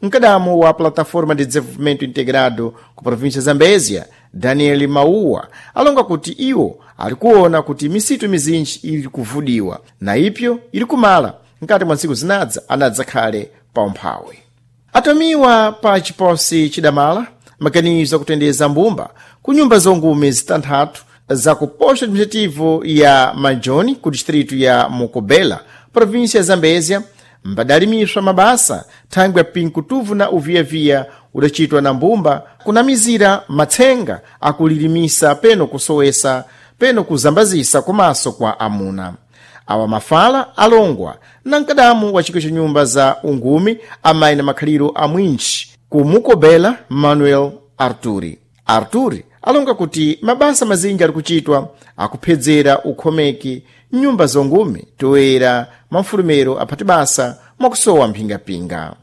Mkadamu wa Plataforma de Desenvolvimento Integrado ku província Zambézia, Daniel Mauwa, alonga kuti iwo ali kuona kuti misitu mizinji ili kuvudiwa na ipyo ili kumala nkati mwa ntsiku zinadza anadzakhale pa umphawi. Atomiwa pa chiposi chidamala maganizo akutendeza mbumba ku nyumba zongume zitanthatu za ku posto administrativo ya Majoni ku distrito ya Mokobela, província ya Zambézia, mbadalimiswa mabasa thangwi ya pinkutuvu na uviyaviya udacitwa na mbumba kunamizira matsenga akulilimisa peno kusowesa peno kuzambazisa komanso kwa amuna. Awa mafala alongwa na mkadamu wa chikwi cha nyumba za ungumi amayi na makhaliro a mwinji ku Mukobela, Manuel Arturi. Arturi alonga kuti mabasa mazinji ali kuchitwa akuphedzera ukhomeki nyumba zongume toera mafulumero aphati basa mwakusowa mphingapinga.